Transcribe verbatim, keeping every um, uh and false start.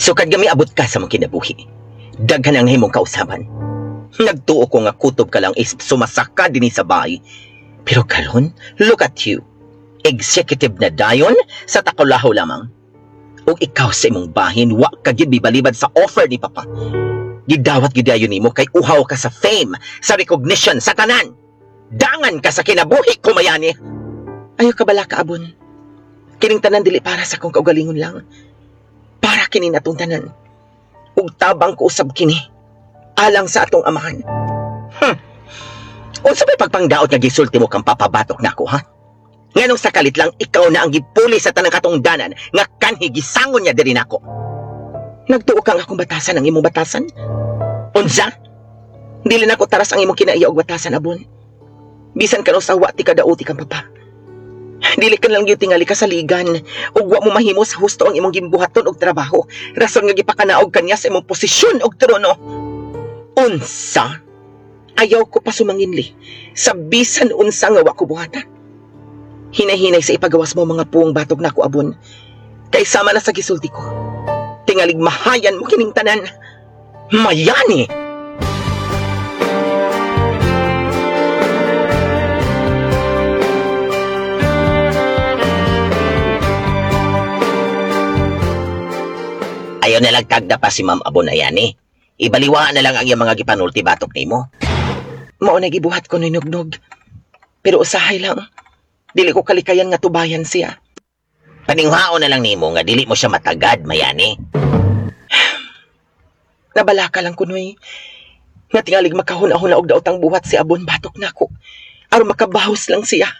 Sukad nga miabot ka sa mong kinabuhi. Daghan ang himong kausaban. Nagtuo ko nga kutob ka lang is sumasaka dinhi sa bahay. Pero karon, look at you. Executive na dayon sa takulaho lamang. Ug ikaw sa imong bahin, wa ka gyud bibalibad sa offer ni Papa. Gidawat gyud dayon nimo kay uhaw ka sa fame, sa recognition, sa tanan. Dangan ka sa kinabuhi ko, Mayani. Ayaw ka bala kaabon. Kining tanan dili para sa akong kaugalingon lang. Para kini natong tanan. Ug tabang ko usab kini. Alang sa atong amahan. Hmm. Unsa may pagpangdaot nga gisulti mo kang papabatok nako, ha? Nganong sa kalit lang ikaw na ang gipuli sa tanang katungdanan nga kanhi gisangon niya diri nako. Nagtuo ka nga akong batasan ang imong batasan? Unsa? Dili nako taras ang imong kinaiya og batasan abon. Bisan kano sa wa ti kadauti kang papa. Dili ka lang gyud tingali ka saligan ug wa mo mahimo sa husto ang imong gimbuhaton og trabaho. Rason nga gipakanaog kaniya sa imong posisyon og trono. Unsa? Ayaw ko pa sumanginli sa bisan unsa nga wa ko buhata. Hinay-hinay sa ipagawas mo mga puong batok nako abon. Kay sama na sa gisulti ko. Tingalig mahayan mo kining tanan. Mayani! Ayaw na lang tagda pa si Ma'am Abon Ayani. Ibaliwaan na lang ang iyang mga gipanulti batok nimo. Mao na gibuhat ko ni Nugnog. Pero usahay lang. Dili ko kalikayan nga tubayan siya. Paninghaon na lang nimo nga dili mo siya matagad, Mayani. Nabalaka lang kunoy. Nga tingalig makahuna-huna og daotang buhat si Abon batok nako. Aron makabahos lang siya.